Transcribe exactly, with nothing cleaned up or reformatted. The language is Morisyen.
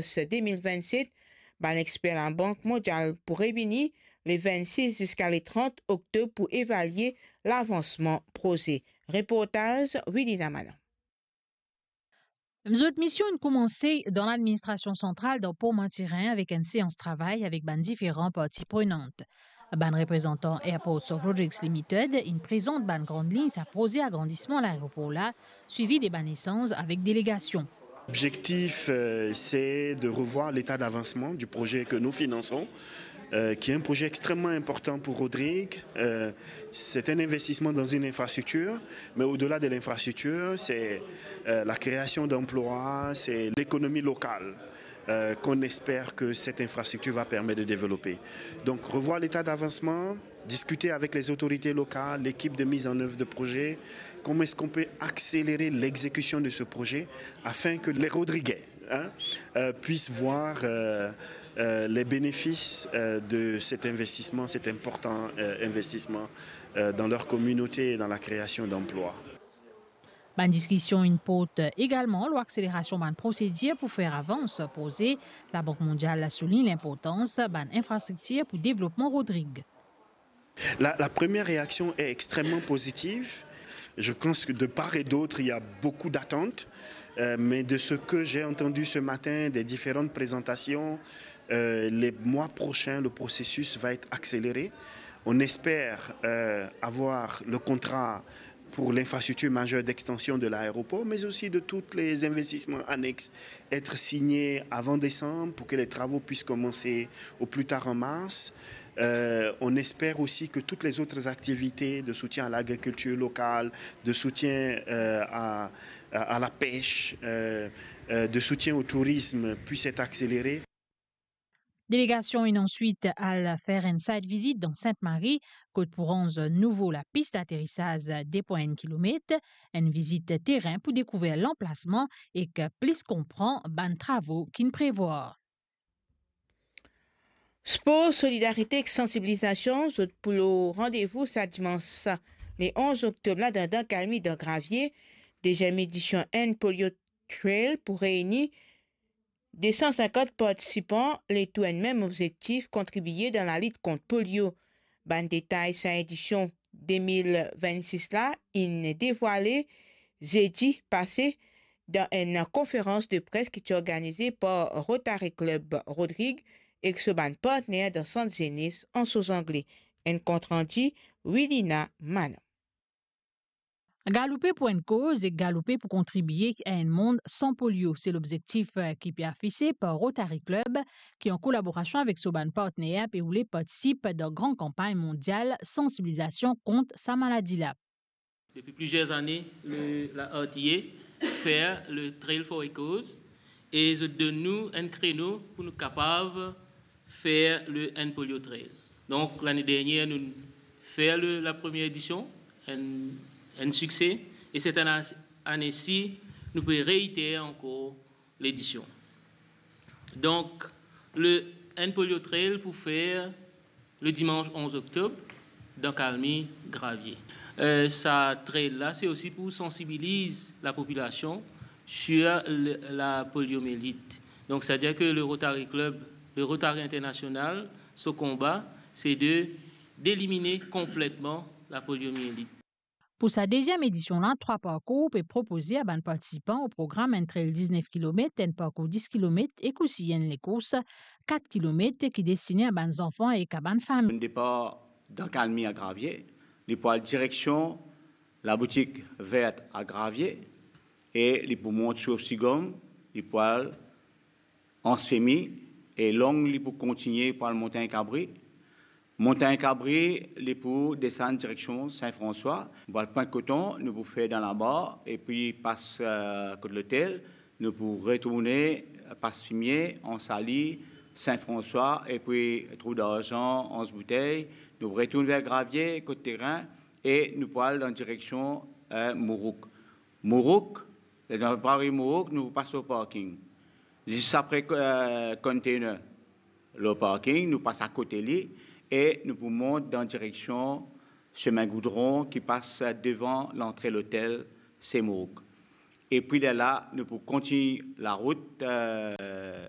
de mil vennset, bann exper Labank Mondial pou reyini le vennsis ziska le trant oktob pou evalie lavansman proze. Reportaz Wilina Malan. Zot mision inn koumanse dan ladministrasion santral dan Port Mathurin avek enn seans travay avek bann diferan parti prenant. Bann reprezantan Airports of Rodrigues Limited inn prezant bann gran lign sa proze agrandisman laeropor la, swivi de bann esanz avek delegasion. L'objectif, euh, c'est de revoir l'état d'avancement du projet que nous finançons, euh, qui est un projet extrêmement important pour Rodrigues. Euh, c'est un investissement dans une infrastructure, mais au-delà de l'infrastructure, c'est, euh, la création d'emplois, c'est l'économie locale, euh, qu'on espère que cette infrastructure va permettre de développer. Donc, revoir l'état d'avancement, discuter avec les autorités locales, l'équipe de mise en œuvre de projet, comment est-ce qu'on peut accélérer l'exécution de ce projet afin que les Rodriguais, hein, euh, puissent voir, euh, euh, les bénéfices, euh, de cet investissement, cet important, euh, investissement, euh, dans leur communauté et dans la création d'emplois. Bann diskision inn port egalman lor akselerasion bann prosedir pou fer avans proze. Labank Mondial la soulign linportans bann infrastriktir pou devlopman Rodrigues. La, la première réaction est extrêmement positive. Je pense que de part et d'autre, il y a beaucoup d'attentes, euh, mais de ce que j'ai entendu ce matin, des différentes présentations, euh, les mois prochains, le processus va être accéléré. On espère, euh, avoir le contrat pour l'infrastructure majeure d'extension de l'aéroport, mais aussi de tous les investissements annexes, être signé avant décembre pour que les travaux puissent commencer au plus tard en mars. Euh, on espère aussi que toutes les autres activités de soutien à l'agriculture locale, de soutien, euh, à, à, à la pêche, euh, euh, de soutien au tourisme puissent être accélérées. Delegasion inn answit al fer enn site visit dan Sint-Mari, kot pou ranz nouvo lapis daterisaz de pwin enn kilomet, enn vizit terin pou dekouver lanplasman ek plis konpran bann travo ki'nn prevwar. Spor, solidarite ek sansibilizasion, zot pou lor randevou sa dimans le onz oktob la dan, dan Kalmi, dan Gravie. Deziem edision End Polio Trail pou reyini de san sinkant partisipan, letou enn mem obzektif, kontribie dan lalit kont polio. Bann detay sa edision de mil vennsis la inn devwale zedi pase dan enn konferans de pres ki ti organize par Rotary Club Rodrigues ek so bann partner dan Sant Zenes Anse aux Anglais. Enn kontrandi, Wilina Manon. Galoupe pou enn koz ek galoupe pou kontribie a enn mond san polio, se lobzektif, eh, ki pe afise par Rotary Club, ki an kolaborasion avek so bann partner, pe oule partisip dan gran kanpagn mondial sansibilizasion kont sa maladi la. Depuis plusieurs années, le, la R T A fait le Trail for a Cause et zot donn nou enn kreno pou nou kapav fer le End Polio Trail. Donk, lane dernier, nou fer le, la première édition, enn, enn sikse, e set ane, ane si, nou pe reiter ankor ledision. Donk, le End Polio Trail pou fer le dimanche onze octobre, dan Kalmi, Gravie. Euh, sa trail la, se osi pou sansibiliz lapopilasion sur le, la poliomyélite. Donc, c'est-à-dire que le Rotary Club, le Rotary International, son combat, c'est de, d'éliminer complètement la poliomyélite. Pou sa deziem edision la, trwa parkour pe propoze a bann partisipan o program, enn trail diznef kilomet, enn parkour dis kilomet ek osi enn lekours kat kilomet ki destine a bann zanfan ek a bann fami. Enn depar dan Kalmi a Gravie, li pou al direksion laboutik Vert a Gravie e li pou mont Sourcigom, li pou al Anse Femy e long li pou kontigne pou al Montagne Cabri. Montagne Cabri, li pou desann direksion Saint-François. Pou al Pointe Coton, nou pou fer dan Lamar, epi pas, eh, kot lotel, nou pou retourne pas Fimier, Anse Alix, Saint-François, epi Trou d'Argent, Anse Bouteille. Nou retourn ver Gravie, kot terin, e nou pou al dan direksion, eh, Mourouk. Mourouk, dan Paris Mourouk, nou pas lor parking. Zis apre, eh, container, lor parking, nou pas akote li e nou pou mont dan direksion semin goudron ki pas devan lantre lotel Saint-Mourouk. Epi lerla, nou pou kontign larout, eh,